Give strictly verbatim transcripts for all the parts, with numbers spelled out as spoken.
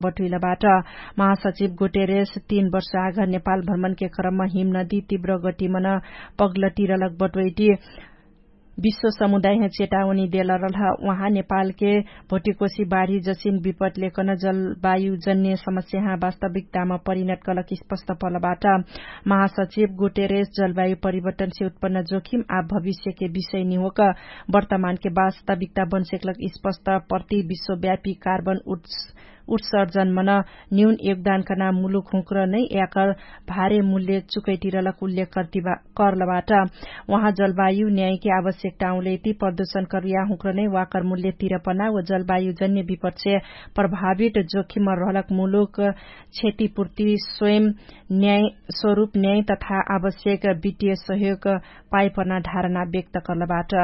बटुइलबाट महासचिव गुटेरेस तीन वर्ष आघर नेपाल भ्रमणके क्रममा हिमनदी तीव्र गटिमन पग्लटिरलक बटुइटी विश्व समुदायह चेतावनी देलरलह। उहाँ नेपालके भोटिकोसी बाढी जसिन विपटलेकन जलवायुजन्य समस्याह वास्तविकतामा परिणत कलक स्पष्ट पलबाट महासचिव गुटेरेस जलवायु परिवर्तनसे उत्पन्न जोखिम आ भविष्यके विषय निहोक वर्तमानके वास्तविकता बनसेकलक स्पष्ट प्रति विश्वव्यापी कार्बन उट्स उत्सर्जनमन न्यून योगदानकना मुलुक हुँक्र नै याकर भारे मूल्य चुकैटिरलक उल्लेख कर्तिबा करलबाट। उहाँ जलवायु न्यायके आवश्यकता औँलेति प्रदूषण करुया हुँक्र नै वाकर मूल्य तिरपना व जलवायुजन्य विपक्षे प्रभावित जोखिममा रहलक मुलुक क्षतिपूर्ति स्वयं न्याय स्वरूप न्याय तथा आवश्यक वित्तीय सहयोग पाइपना धारणा व्यक्त करलबाट।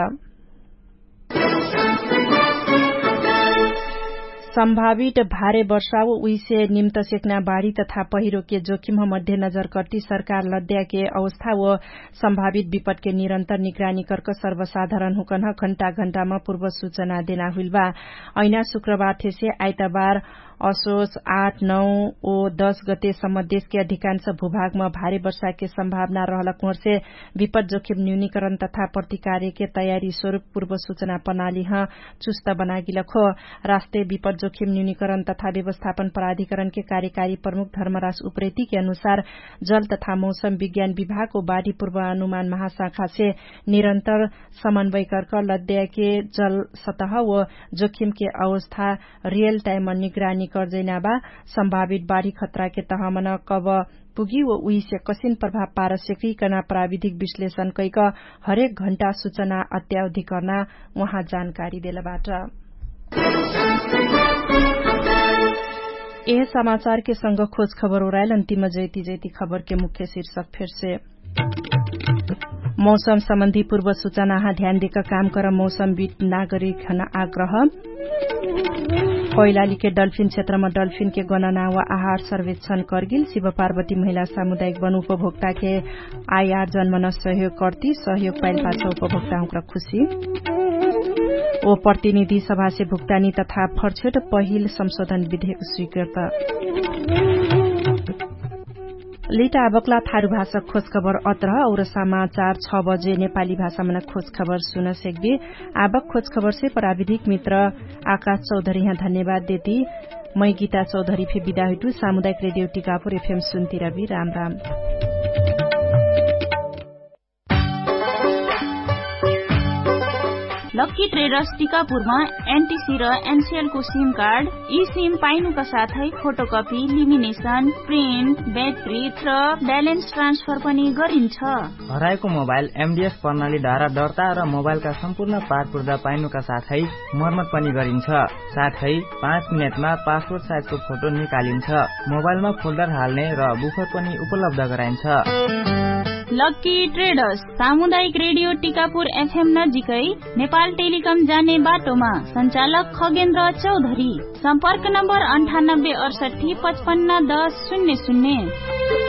सम्भावित भारे वर्षा व उइसे निम्त सेक्ना बाढी तथा पहिरोके जोखिमह मध्य नजर कर्ति सरकार लद्याके अवस्था व सम्भावित विपटके निरन्तर निगरानी कर्क सर्वसाधारण हुकन्ह घण्टा घण्टामा पूर्व सुचना देना हुइलबा। ऐना शुक्रबार थेसे आइतबार असोच आठ नौ ओ दस गते सम्म देशके अधिकांश भूभागमा भारे वर्षाके सम्भावना रहलक हुँहर्से विपट जोखिम न्यूनीकरण तथा प्रतिकार्यके तयारी स्वरूप पूर्व सुचना प्रणालीह चुस्त बनागिलक हो। राष्ट्रिय विपट जोखिम न्यूनीकरण तथा व्यवस्थापन प्राधिकरणके कार्यकारी प्रमुख धर्मराज उप्रेतीके अनुसार जल तथा मौसम विज्ञान विभागको बाढी पूर्व अनुमान महाशाखासे निरन्तर समन्वय कर्क लद्याके जल सतह व जोखिमके अवस्था रियल टाइममा निगरानी कर्जैना बा। सम्भावित बाढी खतराके तहमन कब पुगी व उहिसे कसिन प्रभाव पारस्यकी कना प्राविधिक विश्लेषण कैक हरेक घण्टा सुचना अत्यावधिकर्ना उहाँ जानकारी देलबाट। एह समाचारके संग खोज खबर ओराइल अन्तिम जैति जैति खबरके मुख्य शिर्षक फेर्से मौसम सम्बन्धी पूर्व सुचनाहा ध्यान देक काम कर मौसम बिट नागरिक हन आग्रह। कैलालीके डल्फिन क्षेत्रमा डल्फिनके गणना वा आहार सर्वेक्षण कर्गिल शिव पार्वती महिला सामुदायिक वन उपभोक्ताके आयार जन्मन सहयोग कर्ति सहयोग पाइल पाछ उपभोक्ताहुँक्र खुशी। ओ प्रतिनिधि सभासे भुक्तानी तथा फर्छेट पहिल संशोधन विधेयक स्वीकृत। लिट आबकला थारु भाषा खोजखबर अत्रह और समाचार छ बजे नेपाली भाषामन खोजखबर सुन सेक्बे। आबक खोजखबरसे प्राविधिक मित्र आकाश चौधरी यहाँ धन्यवाद देती। मै गीता चौधरी फे बिदा हुइटु सामुदायिक रेडियो टिकापुर एफएम सुन्तिरबी राम राम। लक्की ट्रेडर्स टिकापुरमा एनटिसी र एनसिएलको सिम कार्ड यी सिम पाइनुका साथै फोटोकपी लिमिनेसन प्रिन्ट ब्याट्री र ब्यालेन्स ट्रान्सफर पनि गरिन्छ। हराएको मोबाइल एमडिएस प्रणालीद्वारा दर्ता र मोबाइलका सम्पूर्ण पारपुर्दा पाइनुका साथै मर्मत पनि गरिन्छ। साथै पाँच मिनेटमा पासपोर्ट साइजको फोटो निकालिन्छ। मोबाइलमा फोल्डर हाल्ने र बुफर पनि उपलब्ध गराइन्छ। लक्की ट्रेडर्स सामुदायिक रेडियो टिकापुर एफएम नजिकै नेपाल टेलिकम जाने बाटोमा सञ्चालक खगेन्द्र चौधरी। सम्पर्क नम्बर अन्ठानब्बे अडसट्ठी पचपन्न दस शून्य शून्य।